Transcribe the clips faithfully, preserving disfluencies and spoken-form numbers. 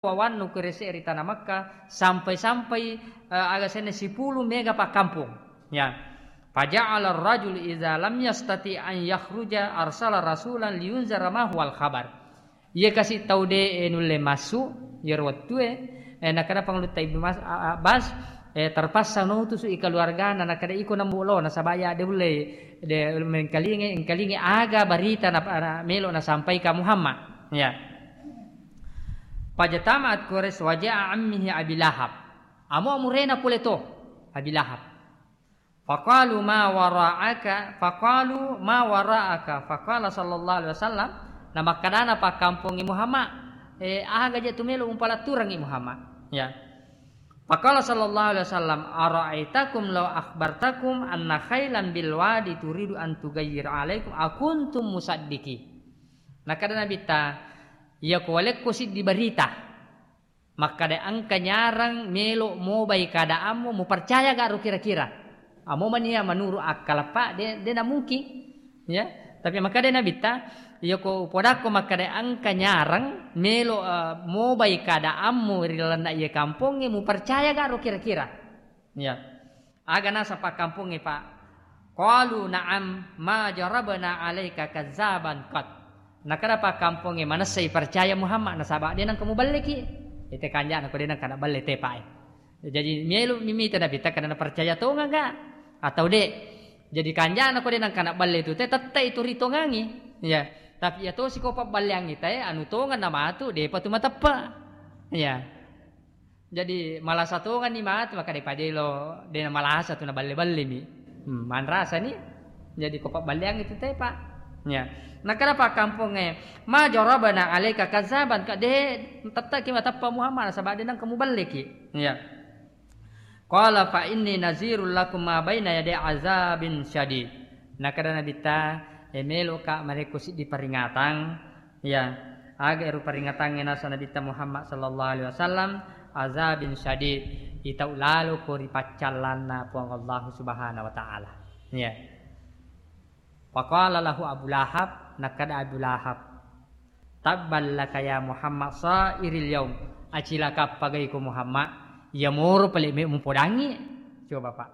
wawannu Quraisy ri tanah Makkah, sampai-sampai, eh, aga senna sipulung mega pakkampong. Ya. Faja'ala ar-rajul idza lam yastati an yakhruja arsala rasulan liyunzira ma huwal khabar. Iya kasi tau de, eh, nulle massu, iyaro wettue, eh, nakkeda Pangulutta Ibnu Mas-, A-, Abbas, eh, terpaksa nautusu i keluargana, nakkeda iko nambu lo, nasaba iya de ulle, de mengkalinge, engkalinge aga barita na, na melo nasampaika Muhammad. Ya. Fajtama'at Quraisy wa ja'a ammihi Abi Lahab. Amo amurena pole to, Abi Lahab. Faqalu ma wara'aka, faqalu ma wara'aka, faqala sallallahu alaihi wasallam, na makkadana pakkampongnge Muhammad, eh, aga je tu melo umpalatturangngi Muhammad. Ya. Faqala sallallahu alaihi wasallam, "Ara'aitakum law akhbartakum anna khailan bil wadi turidu an tughayyir alaikum akuntum musaddiqi?" Nakkeda Nabitta, "Iya ko walekko siddi barita, makkada engka nyarang melo mobai keadaanmu, mupercaya gak ro kira-kira?" Amo mania menurut akkalappa, de, de na mungkin. Ya, tapi makkada Nabitta, "Iya ko podakko makkada engka nyarang melo, eh, mobai keadaanmu ri lalenna iya kampongnge, mupercaya gak ro kira-kira?" Ya. Aga naseng pakkampongnge, Pak? Qalu, "Na'am, ma jarabna 'alaika kazzaban qat." Nakkeda pakkampongnge, "Manessai percaya Muhammad, nasaba de nengka muballeki." Ite kanjana ko de nengka naballe te, Pak, eh. Jadi melo mimita Nabitta kada napercaya tongeng ga atau de. Jadi kanjana ko de nengka naballe tu te, tette itu ritongangi. Ya. Tapi iya tosi ko pabballeangi te, anu tongeng namatu, depa tu mateppe. Ya. Jadi malasa tongenni matu, maka de padelo, de malasa tu naballe-ballemi. Hmm, manrasani. Jadi ko pabballeang itu te, Pak. Ya. Nakkeda pakkampongnge, "Ma jarabna 'alaika kazzaban," ka de tetteki mateppe Muhammad, nasaba de nengka muballeki. Ya. Qala fa inni nazirul lakum ma baina yaday azabin syadid. Nakkeda Nabitta, e meloka marekko siddi peringatang, ya, aga ero peringatangnge naseng Nabitta Muhammad sallallahu alaihi wasallam, azabin syadid, itau laloko ri paccallanna Puang Allah Subhanahu wa Ta'ala. Ya. Faqala lahu Abu Lahab, nakkeda Abu Lahab, "Tabban laka ya Muhammad sairil yaum." Acilaka pagaiko Muhammad, iya moro pale me mupodangi. Coba, Pak.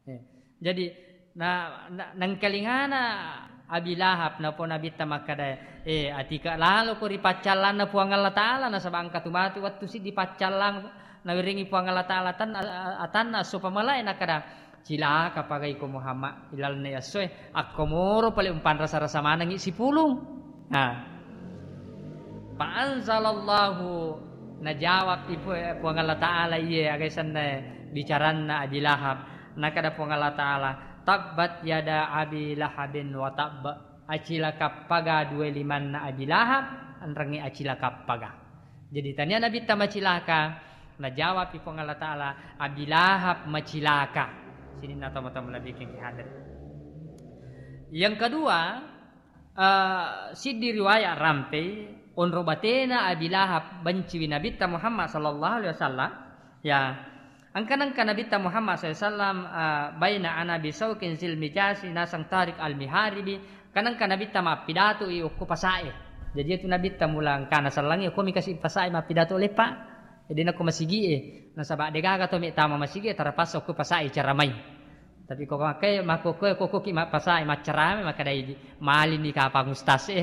Eh, jadi, na, na, nengkalingana Abi Lahab, napo Nabitta makkeda, "Eh, atika laloko ri paccallanna Puang Allah Ta'ala, nasaba engka tu matu wettu siddi paccallang nawerengi Puang Allah Ta'ala tan-, a-, a-, atanna esso pamalae," nakkeda, "Cilaka pagaiko Muhammad ilalenna essoe, akko moro pale umpanrasa-rasa manengi sipulung." Nah. Fa anzalallahu, najawab ipu-, Puang Allah Ta'ala iye aga senna bicaranna Abi Lahab. Nakkeda Puang Allah Ta'ala, "Tabbat yada Abi Lahabin wa tabb." Acilaka paga dua limanna Abi Lahab, enrengnge acilaka paga. Jadi tania Nabitta macilaka, najawab Puang Allah Ta'ala, "Abi Lahab macilaka." Sininna tomatoa malebbikengngi hadir. Yang kedua, eh, siddi riwayat rampei, onro batena Abi Lahab benciwi Nabitta Muhammad sallallahu alaihi wasallam. Ya, engka nengka Nabitta Muhammad sallallahu alaihi wasallam, eh, baina ana bisaukin zil mijasi nasang Tariq al-Miharibi, engka nengka Nabitta mappidato i okko pasae. Jadi itu Nabitta mula engkana sellangi, okko mi kasi pasae mappidato leppa. Jadi nako masigie, nasaba degaga to me tama masigie, terpaksa okko pasae ceramai. Tapi ko makkai, makkokkoe, kokkoki mappasae maccarama, makkedai, "Malini kapang ustaz e."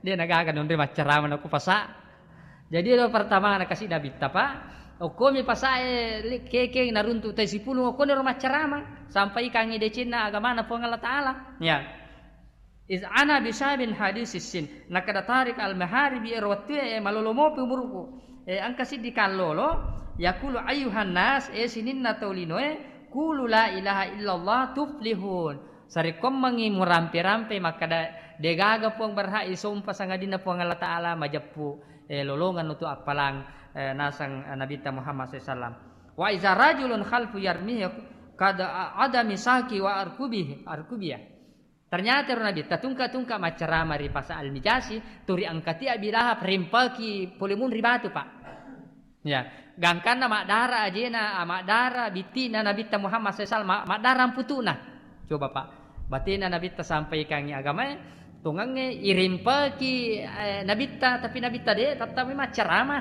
De nagaga nonre maccarama nako pasa. Jadi ero pertama na kasi Nabitta, Pak. Okkomi pasae li-, kekeng naruntu tai sipulung, okkoni ro maccarama. Sampai ikangi decenna agamana Puang Allah Ta'ala. Ya. Iz ana bisabin hadisis sin. Nakkeda Tariq al-Maharibi ero wettue, e, malolo mopi umuruku. E, engka siddi kallolo, yaqulu ayyuhan nas, e, sininna tau linoe, qulu la ilaha illallah tuflihun. Sarekkoammengngi murampe-rampe makkeda, degaga Puang berhak isompa sangadinna Puang Allah Ta'ala, majeppu, e, lolongang utu appalang, e, nasang, e, Nabitta Muhammad sallallahu alaihi wasallam. Wa iza rajulun khalfu yarmihi qad adami saki wa arkubihi, arkubiyah. Ternyata ro Nabitta tungka-tungka maccarama ri Pasa Al-Mijasi, turi angkati Abi Lahab rimpaki pole munri batu, Pak. Ya, gangkanna maddara ajena, ah, maddara bittina Nabitta Muhammad sallallahu alaihi wasallam, ma-, maddara amputu'na. Coba, Pak. Batena Nabitta sampaikangi agamae, tongengnge irimpaki, eh, Nabitta, tapi Nabitta de, tetap maccarama.